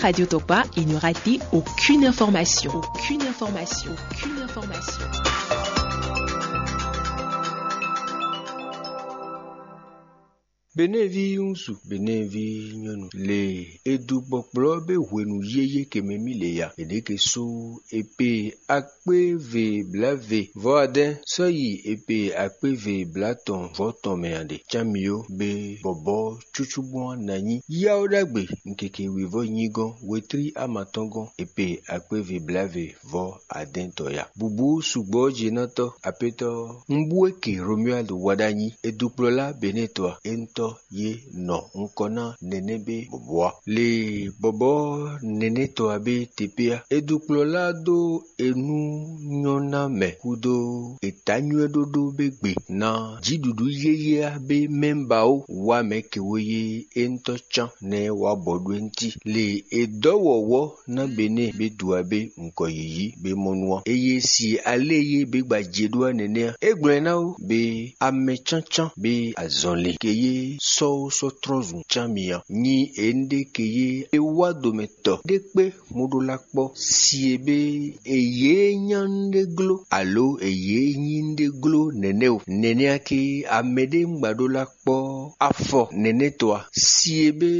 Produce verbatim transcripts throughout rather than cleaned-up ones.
Radio Tokpa, il ne rate aucune information. Aucune information. Aucune information. Benɛ́vi ŋúsu, Benɛ́vi nyɔ́nu lě e è du gbɔkplɔ́ bé hwenu yéyé ke mɛ mì lě ya. È ɖě ke sú è pe akpé ve blǎ ve vɔ́ adɛ́ sɔ́ yi è pe akpé ve blǎ tɔn vɔ́ tɔn mɛ a ɖe? Cán mì ó, bé bɔbɔ́ cúcú gbɔn ná nyí yáó ɖagbe nkeke wěvɔ́ nyí gɔ́n, wetlí ama tɔn gɔ́n è pe akpé ve blǎ ve vɔ́ adɛ́ tɔn ya. Bǔbú sugbɔ́ jí ná tɔ́ apétɔ́. Un bú é ke Romuald wa ɖ'ayǐ, è dukplɔ́ lá Benɛ́tɔ ǎ, é ŋutɔ́ yé nɔ nukɔn ná nɛnɛ́ bé bɔbɔ́ ǎ. Le bɔbɔ́ nɛnɛ́tɔ ǎ bé tepéá, è dukplɔ́ lá dó e nú nyɔ́ ná mɛ kúdó è tá nywɛ́ ɖóɖó bé gbe ná jǐɖuɖu yéyé á bé mɛ ba ó wá mɛ ke wé yé é ŋutɔ́ cán nɛ́ wá bɔ ɖó é ŋuti. Le è dɔ́ wɔ̌wɔ́ ná Benɛ́ bé du ǎ bé nkɔ yǐyí bé mɔ nú ǎ. Eye si alé yé bé gba jɛ ɖó ǎ nɛnɛ́ ǎ. É gblɔ́ ɛ ná ó bé amɛ cáncán bé azɔnlin ke yé sɔ́ ó sɔ́ trɔ́nzun cán mi ǎ. Nyi énɖé ke yé é wá domɛ tɔ ɖé kpé mo ɖó lá kpɔ́ si e bé è yě nyá nɖé gló alo è yě nyí nɖé gló nɛnɛ́ o. Nɛnɛ́ ǎ ké amɛ ɖé un gba ɖó lá kpɔ́ afɔ nɛnɛ́ tɔ́ ǎ. Si e bé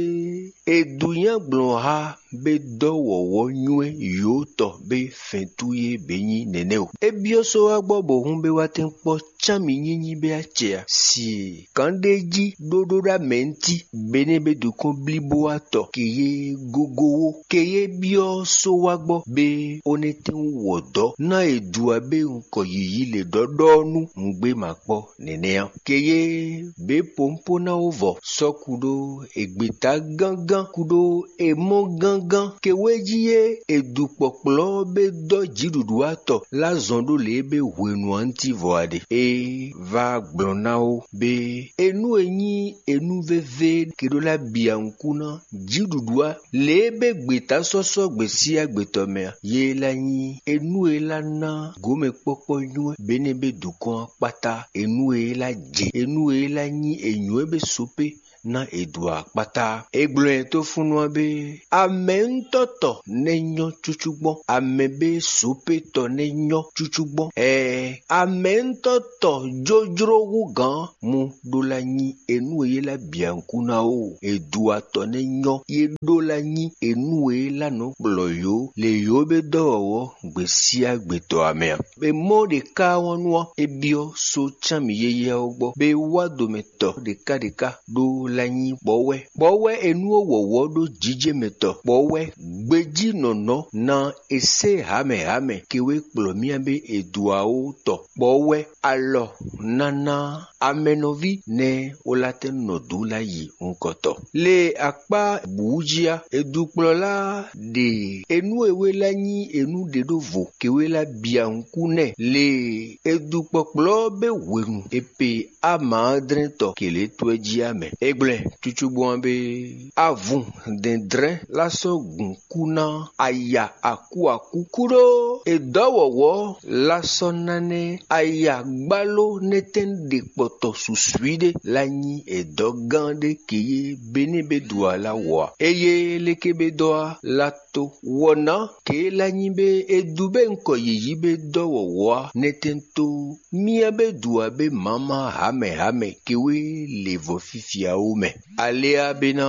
è du nyá gblɔ̌nha bé dɔ́ wɔ̌wɔ́ nywɛ́ yǒtɔ bé fɛ́ntú yé bě nyí nɛnɛ́ o. É byɔ́ só wá gbɔ bɔ hǔn bé wá tɛ́n kpɔ́ cán mi nyínyi bé acɛ a? Si kǎnɖéjí ɖóɖó ɖó amɛ ŋuti, Benɛ́ bé dukɔn blíbó atɔ ke yé gogo wó, ke yé byɔ́ só wá gbɔ bé ó nɛ́ tɛ́n wɔ dɔ̌ ná è du ǎ bé un kɔ yǐyí lě ɖɔɖɔ́ nú nǔgbé ma kpɔ́ nɛnɛ́ ǎ. Ke yé bě pǒnpó ná wó vɔ sɔ́ kúɖó ègbětá gángán kúɖó èmɔ́ gángán ke wé jí é è du kpɔkplɔ́ bé dɔ́ jǐɖuɖu atɔ lá zɔn ɖó lě e bé hwenu ǎ ntí vɔ a ɖe. É vá gblɔn ná ó bé é nú e nyí e nú vévé ke ɖó lá bia nukún ná jǐɖuɖu á. Lě e bé gbětá sɔ́ sɔ́ gbě sí agbětɔ́ mɛ a? Yě lá nyí e nú e lá ná gǒmɛkpɔ́kpɔ́ nywɛ́ Benɛ́ bé dukɔn ɔ́ kpátá. E nú e lá jɛ, e nú e lá nyí e nywɛ́ bé sopé ná è dǒ akpátá. É gblɔ́ ɛ tó fúnnu ɔ́ bé amɛ̌ntɔ́tɔ nɛ́ nyɔ́ cúcú gbɔn, amɛ bé sopétɔ nɛ́ nyɔ́ cúcú gbɔn. Ɛɛ, amɛ̌ntɔ́tɔ jójló hú gǎn mu ɖó lá nyí e nú e lá bia nukún ná ó. È du atɔ nɛ́ nyɔ́, yé ɖó lá nyí e nú e lá nɔ kplɔ́ yǒ, lě yǒ bé dɔ́ wɔ̌wɔ́ gbě síá gbětɔ́ ǎ mɛ ǎ. È mɔ ɖě ká wɔ́ nú ɔ́, é byɔ́ só cán mǐ yéyé ɔ́ gbɔ, bɔ é wá domɛ tɔ ɖěká ɖěká ɖó lá nyí bɔ̌ wɛ. Bɔ̌ wɛ è nú ó wɔ̌wɔ́ ɖó jijɛ mɛ tɔ, bɔ̌ wɛ gbejí nɔ̌nɔ́ ná è sé hǎmɛ hǎmɛ ke wé kplɔ̌ myá bé è dǒ ǎ ó tɔ, bɔ̌ wɛ alɔ ná ná amɛnɔví nɛ́ ó lá tɛ́ nɔ dó lá yi nukɔntɔn. Le akpá bǔ jí á, è dukplɔ́ lá ɖe e nú e wé lá nyí e nú ɖě ɖó vo ke wé lá bia nukún nɛ́. Le e dukpɔkplɔ́ bé hwenu è pe ama ɔ́ dlɛ́n tɔ kělé tó ɛ jí á mɛ. É gblɛ́ cúcúgbɔ́n ɔ́ bé avun dɛndlɛ́n lá sɔ́ gun kú ná aya akú akú. Kúɖó è dɔ́ wɔ̌wɔ́ lá sɔ́ ná nɛ́ aya gbáló nɛ́tɛn ɖe kpɔtɔ suswí ɖé lá nyí è dɔ́ gán ɖé ke yé Benɛ́ bé dǒ alá wɔ ǎ. Eye léké bé dɔ́ á lá tó. Wɔ ná ke lá nyí bé é dú bé un kɔ yǐyí bé dɔ́ wɔ̌wɔ́ á nɛ́tɛn tó. Myá bé dǔ ǎ bé mǎmá hǎmɛ hǎmɛ ke wé lě vɔ fífia ó mɛ. Alea bé ná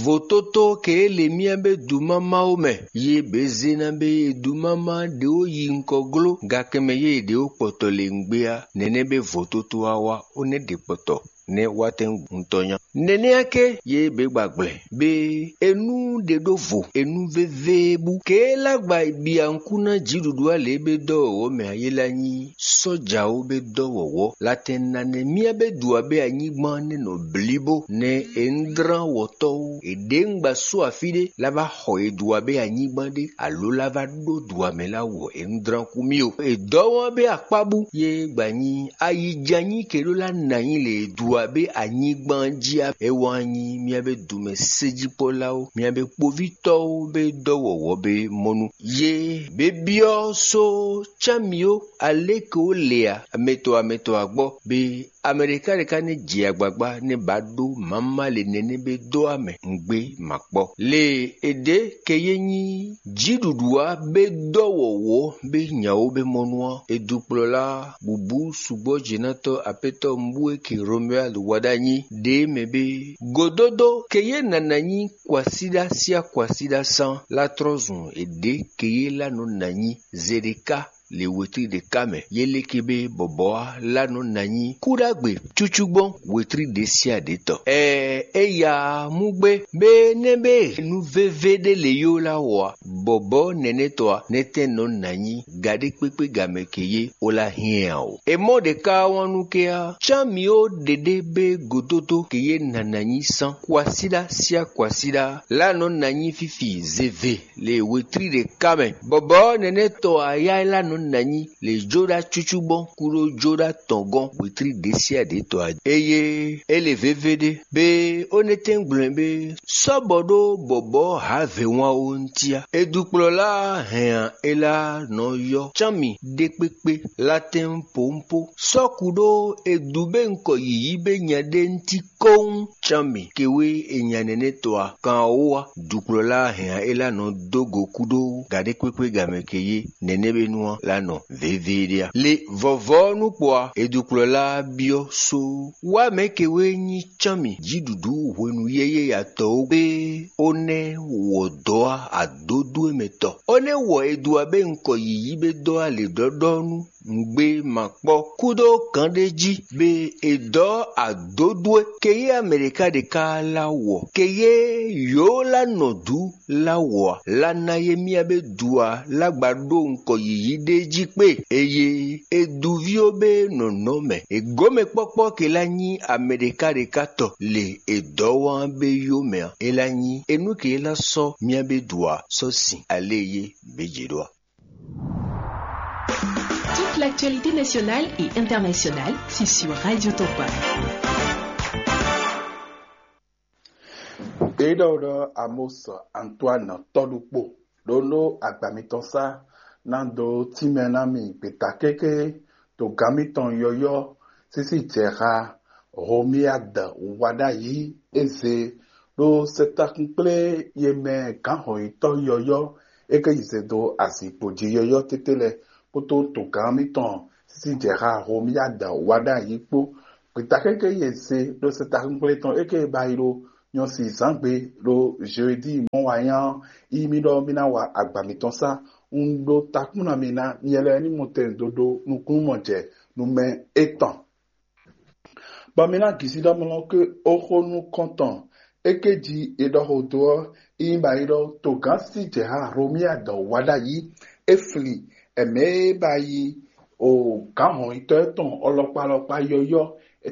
votótó ke é le myá bé dú mámá ó mɛ. Yé bě zé ná bé é dú mámá ɖě ó yi nukɔ gló, gakɛ́ mɛ yé è ɖě ó kpɔtɔ le ngbé á. Nɛnɛ́ bé votótó á wá ó nɛ́ ɖe kpɔtɔ nɛ́ wá tɛ́n gun tɔn nya. Nɛnɛ́ á ké yě bě gba gblɛ bé é nú ɖe ɖó vo, é nú vévé bú. Ke é lá gba bia nukún ná jǐɖuɖu á lě é bé dɔ́ wɔ̌wɔ́ mɛ ǎ, yé lá nyí sɔ́jawo bé dɔ́ wɔ̌wɔ́. Latɛn nanɛ myá bé dǔ ǎ bé anyígbán nɛ́ nɔ blíbó nɛ́ è un dlán wɔ̌tɔ́ ó. È ɖě un gba sú afí ɖé lá vá xɔ è dǔ ǎ bé anyígbán ɖé, alǒ lá vá ɖó dǔ ǎ mɛ lá wɔ è un dlán kú mì ó. È dɔ́ wɔ́n bé akpá bú, yé gba nyí ayijanyí ke ɖó lá nǎ nyí lě e dú abí anyigban jí a? É wá nyí mía be dumɛ séjíkpɔ́láwo, mía be kpovítɔ́wo be dɔ́ wɔwɔ́ be mɔnu. Yě be byɔ́ só cámió alékewó lě a, amɛtɔ́ amɛtɔ́ a gbɔ be Amɛɖeká ɖeka nɛ́ jɛ agbagba nɛ́ ba ɖó mama le nɛnɛ be dó amɛ ngbé ma kpɔ́. Le e ɖě keyé nyí jǐɖuɖu ǎ bé dɔ́ wɔwɔ́ bé nyawo bé mɔ nú ɔ́, è dukplɔ́ lá bǔbú sugbɔ́ jěnátɔ́ apɛtɔ́ Mbúéke Romuald Waɖanyi ɖě mɛ bé godódó keyé nana nyí kwasíɖá síá kwasíɖá sán látrɔ́zun è ɖě keyé lá nɔ na nyí Zeɖeká le wetrí ɖe ká mɛ. Yé léke bé bɔbɔ́ á lá nɔ na nyí kúɖagbe cúcú gbɔn wetrí ɖě síá ɖě tɔ. Ɛɛ, é ya mú gbé bé nɛ́ bé nú vévé ɖé le yó lá wɔ a? Bɔbɔ́ nɛnɛ́ tɔ a? Nɛ́tɛ́ nɔ na nyí gaɖé kpékpé gamɛ ke yé ó lá hiɛn a o. È mɔ ɖě ká wán nú ké á, cán mǐ ó ɖeɖé bé gododo ke yé nana nyí sán kwasíɖá síá kwasíɖá lá nɔ na nyí fífi zévé le wetrí ɖe ká mɛ. Bɔbɔ́ nɛnɛ́ tɔ ayá é lá nɔ na nyí le jóɖá cúcú gbɔn kúɖó jóɖá tɔn gɔ́n wetrí ɖě síá ɖě tɔ a? Eye é le vévé ɖé bé ó nɛ́ tɛ́n gblɔn bé sɔ́bɔ ɖó bɔbɔ́ hǎvě wán ó ntí á. È dukplɔ́ lá hɛn a? É lá nɔ yɔ́ cán mì ɖé kpékpé lá tɛ́n pǒnpó sɔ́ kú ɖó è dú bé ŋkɔ yǐyí bé nya ɖé ntí kɔ́ŋ cán mì kewé è nya nɛnɛ́ tɔ a? Kan ɔ́ wá dukplɔ́ lá hɛn a? É lá nɔ dó go kú ɖó gaɖé kpékpé gamɛ ke yé nɛnɛ́ bé nú ɔ́ lá nɔ vévé ɖé a? Le vɔvɔ́ nú kpɔ a? È dukplɔ́ lá byɔ́ só wá mɛ̌ kewé nyí cán mì jǐɖuɖu hwenu yɛ́yɛ́ ya tɔ ó gbé ó nɛ́ wɔ dɔ̌ a adódú e mɛ tɔ ó nɛ́ wɔ è dó a bé ŋkɔ yǐyí bé dɔ́ a lě ɖɔ́ɖɔ́ nú nǔgbé ma kpɔ́ kúdó gǎn ɖé jí bé è dɔ́ adódú e keyé Amɛɖeka ɖeka lá wɔ keyé yǒ lá nɔ dǔ lá wɔ a? Lá ná yé myá bé du a lá gba ɖó ŋkɔ yǐyí ɖé jí kpé eye è du ví ó bé nɔ̌nɔ́ mɛ. È gǒ mɛ kpɔ́kpɔ́ ke lá nyí Amɛɖeka ɖeka tɔ le è dɔ́ wán bé yó mɛ a? É lá nyí é nú ke lá sɔ́ myá bé du a sɔ́ sin alé yé bé jě ɖó a? Toute l'actualité nationale et internationale, c'est sur Radio Topa. Ɖěɖɔ́ ɖɔ Amos Antoine tɔ́ɖukpo ɖó nú agba mitɔn sá ná dó tínmɛ ná mi gbeta kéké to gǎn mitɔn yɔyɔ́ sísí jɛ xá Romuald Wadagni e zé ɖo sɛtakun kplé ye mɛ gǎnhɔnyitɔ́ yɔyɔ́ e ké yi zɛ dó azinkpo jí yɔyɔ́ tɛ́tɛ́ lɛ́ɛ kpódó togán mitɔn sísí jɛ xá Romuald Wadagni kpó. Gbeta kéké ye zé ɖo sɛtakun kplé tɔn e ké ba yi ɖo nyɔ̌sizǎngbe ɖo jeudi mɔ̌ wa nyá ɔ́, yi mì ɖɔ mì ná wa agba mitɔn sá. Un ɖo takún ná mi ná nyɛ lɛ́ɛ ní mɔ tɛn dó ɖó nukúnnú mɔ jɛ nú mɛ étɔn. Bɔ mi ná gǐsí ɖɔ mlɔ́ ké oxó nukɔntɔn é ké jí è ɖɔ xo dó ɔ́, yi ba yi ɖɔ togán sí jɛ ha Romia dɔ wá ɖ'ayǐ. É flin ɛmɛ e ba yi o gǎn hɔnyitɔ́ tɔn ɔlɔkpa alɔkpa yɔyɔ́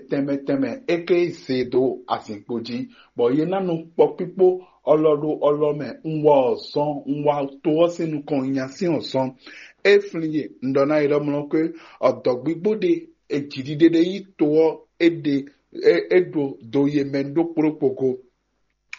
tɛnmɛ tɛnmɛ é ké zé dó azinkpo jí, bɔ yě ná nɔ kpɔkpíkpó ɔlɔ ɖo ɔlɔ mɛ. Un wa ɔzɔn, un wa to ɔ́ sín nukɔn nya sín ɔzɔn. É flin yě, un ɖɔ ná yě ɖɔ mlɔ́ ké ɔdɔ̌gbígbó ɖé e jǐɖiɖe ɖé nyí to ɔ́, é ɖe é é ɖo do yě mɛ ɖó kplókpo go,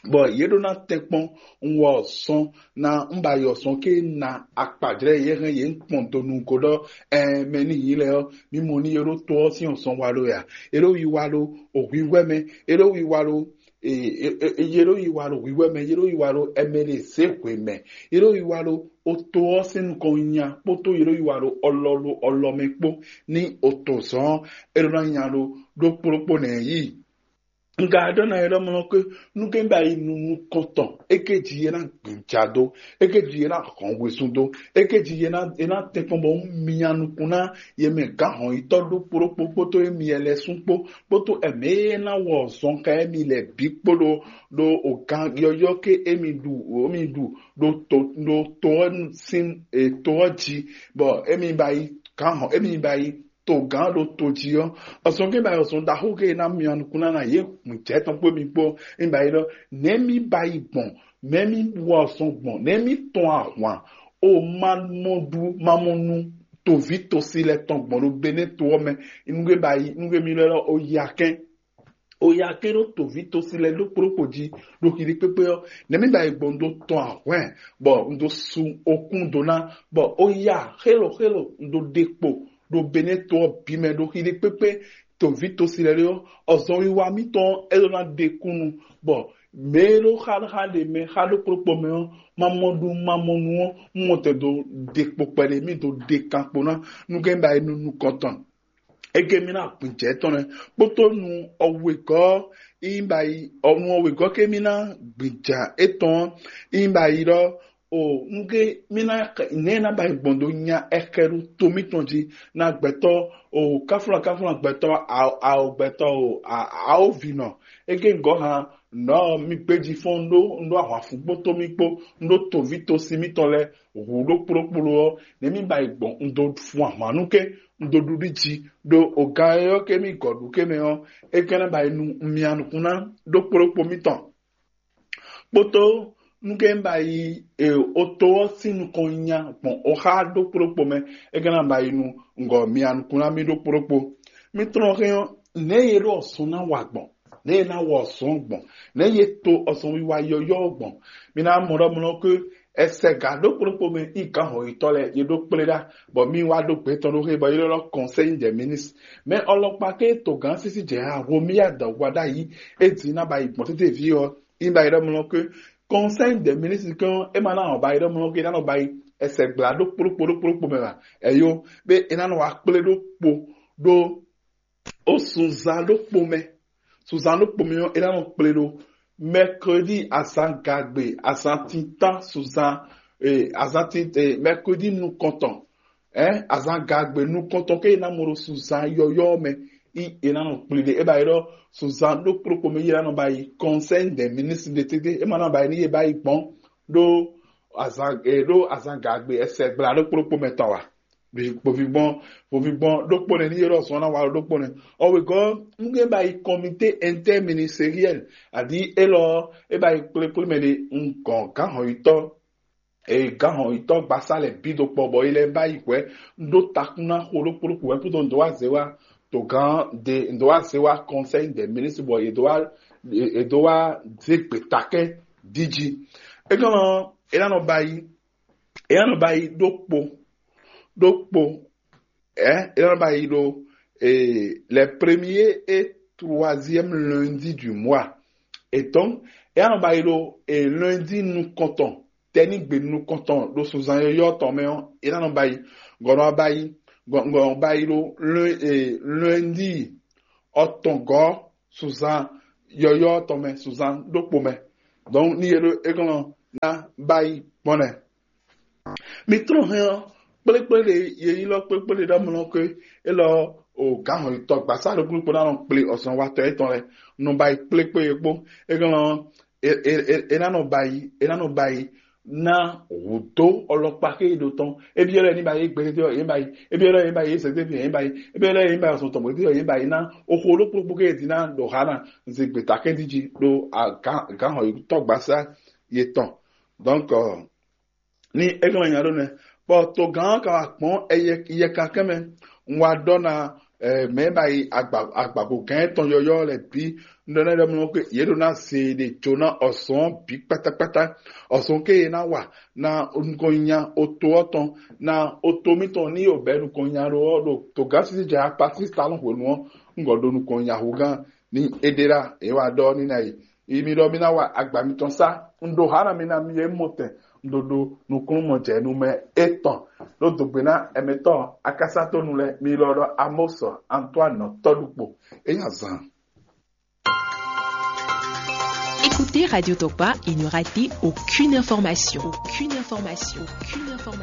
bɔ yě ɖó ná tɛ́nkpɔ́n. Un wɔ ɔ́ sɔ́n ná un ba yi ɔ́ sɔ́n ké ná akpajlɛ́ yě hɛn yě kpɔn do nǔgo ɖɔ ɛɛ mɛ ní nyǐ lɛ́ɛ ɔ́, mí mɔ ní yě ɖó to ɔ́ sín ɔ́ sɔ́n wa ɖó ya. Yě ɖó yi wa ɖó hwǐhwɛ́ mɛ, yě ɖó yi wa ɖó yě ɖó yi wa ɖo hwǐhwɛ́ mɛ, yě ɖó yi wa ɖo ɛmɛ ɖe zě hwe mɛ, yě ɖó yi wa ɖo oto ɔ́ sín nukɔn nya kpódó yě ɖó yi wa ɖo ɔlɔ ɖo ɔlɔ mɛ kpó ní oto zɔn ɔ́, é ɖó ná nya ɖó ɖó kplókpó nɛ̌ yí. Un ka ɖɔ ná yɛ ɖɔ mlɔ ké nú ké ba yi nu nukɔntɔn é ké jí yé ná gbǐnjá dó, é ké jí yé ná hɔn wezun dó, é ké jí yé ná yé ná tɛn kpɔn bɔ un mia nukún ná yě mɛ gǎn hɔn yítɔ́ ɖó kplókpó kpódó émi lɛ́ɛ sún kpó kpódó ɛmɛ e ná wɔ zɔn xá émi lɛ́ɛ bǐ kpó ɖó ɖo ogán yɔyɔ́ ké émi ɖu émi ɖu ɖo to ɖo to ɔ́ sín to ɔ́ jí, bɔ émi ba yi gǎn hɔn émi ba yi togán ɖo to jí ɔ́, ɔzɔn ké ba yi ɔzɔn ɖaxó ké ná mia nukún ná ná yě hun jɛ tɔn kpó mi kpó. Mi ba yi ɖɔ nɛ̌ mi ba yi gbɔn, mɛ̌ mi wa ɔzɔn gbɔn, nɛ̌ mi tɔn ahwan o ma mɔ ɖu ma mɔ nu toví tosi lɛ tɔn gbɔn ɖo Benɛ́ to ɔ́ mɛ. Nugbe ba yi nugbe mi lɛ lɔ o yi akɛn. O ya ké ɖó toví tosi lɛ́ɛ ɖó kplɔ́kpó jí ɖo xixi kpékpé ɔ́, nɛ̌ mì ba yi gbɔn un dó tɔn ahwɛ̌n, bɔ un dó sú okún dó ná, bɔ o ya xélo xélo un dó ɖe kpo ɖo Benɛ́ to ɔ́ bǐ mɛ ɖo xixi kpékpé toví tosi lɛ́ɛ ɖé ɔ́, ɔzɔn wiwa mitɔn ɔ́, é ɖó ná ɖe kúnnu, bɔ mɛ e ɖó xáxá ɖe mɛ xá ɖó kplɔ́kpó mɛ ɔ́, ma mɔ ɖu ma mɔ nu ɔ́, un mɔ tɛn dó ɖe kpo kpɛɖé mì dó ɖe kan kpo ná nú gɛ́n ba yi nú nukɔntɔn. Ege mì ná gbìjɛ tɔn lɛ́ɛ kpódó nu ɔwegɔ́ ínyi ba yi ɔnu ɔwegɔ́ ke mì ná gbìjà étɔn ínyi ba yi ɖɔ o nugé mì ná nɛ ná ba yi gbɔn dó nya ɛkɛ ɖo to mítɔn jí ná gbɛtɔ́ o káfúnla káfúnla gbɛtɔ́ ao gbɛtɔ́ o aovinɔ ege gɔ́ han nɔ mi gbéji fɔ́n ɖó ɖó ahwanfugbó tó mì kpó ɖó toví tosi mítɔn lɛ́ɛ hu ɖó kplókpló ɔ́, nɛ̌ mì ba yi gbɔn un dó fun ahwan nú ké un dó ɖuɖu jí ɖó o gan e ɔ́ ké mì gɔ̌ ɖu ké mɛ ɔ́, é ka ná ba yi nu mia nukún ná ɖó kplókpó mítɔn. Kpótó nú ké mì ba yi e oto ɔ́ sín nukɔn nya gbɔn oxá ɖó kplókpó mɛ, é ka ná ba yi nu ngɔ mia nukún ná mì ɖó kplókpó. Mì tlɔ́n hɛn ɔ́, nɛ̌ e ɖó ɔsɔn ná wa gbɔn? Nɛ̌ e ná wɔ ɔsɔn gbɔn? Nɛ̌ e to ɔsɔn wiwa yɔyɔ́ gbɔn? Mi ná mɔ ɖɔ mlɔ́ ké ɛsɛ gǎ ɖó kplɔ́kpó mɛ yi gǎn hɔyitɔ́ lɛ́ɛ ye ɖó kplé ɖá, bɔ mi wá ɖó gbɛtɔ́ ɖó xé bɔ yi ɖɔ Conseil des ministres. Mɛ ɔlɔkpa ké togán sísí jɛ ha Romuald Wadagni é dín ná ba yi gbɔn tete ví ɔ́, yi ba yi ɖɔ mlɔ́ ké Conseil des ministres kɔn é ma ná ba yi ɖɔ mlɔ́ ké ná nɔ ba yi ɛsɛ gbla ɖó kplɔ́kpó ɖó kplɔ́kpó mɛ ba. Ɛyo, bé é ná nɔ wá kplé ɖó kpo ɖó ó sunzan ɖokpó mɛ. Sunzan ɖokpó mɛ ɔ́, é ná nɔ kplé ɖó mercredi azangagbe, azantintán sunzan, eh, azantin eh, mercredi nukɔntɔn, eh, azangagbe nukɔntɔn ké é ná mɔ ɖo sunzan yɔyɔ́ mɛ. Í é ná nɔ kplé ɖé é ba yi ɖɔ sunzan ɖokpó ɖokpó mɛ yi é ná nɔ ba yi Conseil des ministres ɖe tete é ma ná ba yi ní é ba yi gbɔn ɖó azan eh, ɖó azangagbe ɛsɛ gbla ɖokpó ɖokpó mɛ tɔn wa. Vovigbɔn vovigbɔn ɖokpó nɛ ní yɔrɔ sɔn ná wa ɖokpó nɛ. Ɔwegɔ́ nugé ba yi comité interministériel adi élɔ é ba yi kplékplé mɛ ɖe un gɔn gán hɔnyitɔ́ e gán hɔnyitɔ́ gbasá lɛ bí do kpɔ bɔ yi lɛ ba yi hwɛ un ɖó takún ná xo ɖokpó ɖokpó hwɛ kúdó un dó wá zé wá to gán de un dó wá zé wá Conseil des ministres bɔ yě dó wá yě dó wá zé gbětakɛ́ díjí. É gán é ná nɔ ba yi é ná nɔ ba yi ɖokpó ɖokpó ɛ é ná nɔ ba yi ɖo eh, les premiers et troisième lundi du mois. Et donc é ná nɔ ba yi ɖo eh, lundi nukɔntɔn tɛnigbe nukɔntɔn ɖo sunzan yɔyɔ́ tɔn mɛ ɔ́ é ná nɔ ba yi gɔnɔ ba yi gɔnɔ ba yi ɖo lun- eh, lundi ɔtɔngɔ́ sunzan yɔyɔ́ tɔn mɛ sunzan ɖokpó mɛ. Donc ní yě ɖo é gɔnɔ ná ba yi gbɔn nɛ. Mi tlɔ́n hɛn ɔ́, kplékplé ɖe yeyílɔ kplékplé ɖe ɖɔ mlɔ ké élɔ o gǎn hɔn tɔ gbasá ɖokpó ɖokpó ná nɔ kplé ɔsɔn watɔ étɔn lɛ nɔ ba yi kplékplé e kpó é gán ɔ́ é ná nɔ ba yi é ná nɔ ba yi ná hǔdó ɔlɔkpa ké yi ɖo tɔn ebyɔ́ lɛ ní ba yi gbédédé ɔ́ yé ba yi ebyɔ́ lɛ yé ba yi sɛdébi yé ba yi ebyɔ́ lɛ yé ba yi ɔsɔn tɔn gbédédé ɔ́ yé ba yi ná oxo ɖokpó ɖokpó ké yi dín ná ɖo há ná zigbe takɛ́ndíjí ɖo gǎn hɔn tɔ gbasá yetɔn. Donc ni é gblɔ nya ɖó nɛ́, bɔ togán ɔ́ ka wá gbɔn yɛkankɛn mɛ. Un wá ɖɔ ná mɛ ba yi agbago gɛn tɔn yɔyɔ lɛ bǐ. Un ɖɔ ná ɖɔ mlɔ yě ɖo ná se ɖe jo ná ɔsɔn bǐ kpátákpátá. Ɔsɔn ke yě ná wa ná nukɔn nya oto ɔ́ tɔn ná oto mítɔn ní yǒ bɛ́ nukɔn nya ɖó ɔ́ ɖo togán sísí jɛ apatí talɔn hwenu ɔ́, un gɔ ɖo nukɔn nya hugán ní é ɖe ɖa. É wá ɖɔ ní ná yi yi mi ɖɔ mi ná wa agba mitɔn sá. Un ɖo há ná mi ná mi e mɔ tɛn un ɖo ɖo nukúnnú mɔ jɛ nu mɛ étɔn ɖó dogbe ná ɛmɛtɔn akasatonu lɛ mi lɔ ɖɔ Amos Antoine tɔɖukpo. É nya zan. Écoutez Radio Tokpa et ne ratez aucune information. Aucune information. Aucune information.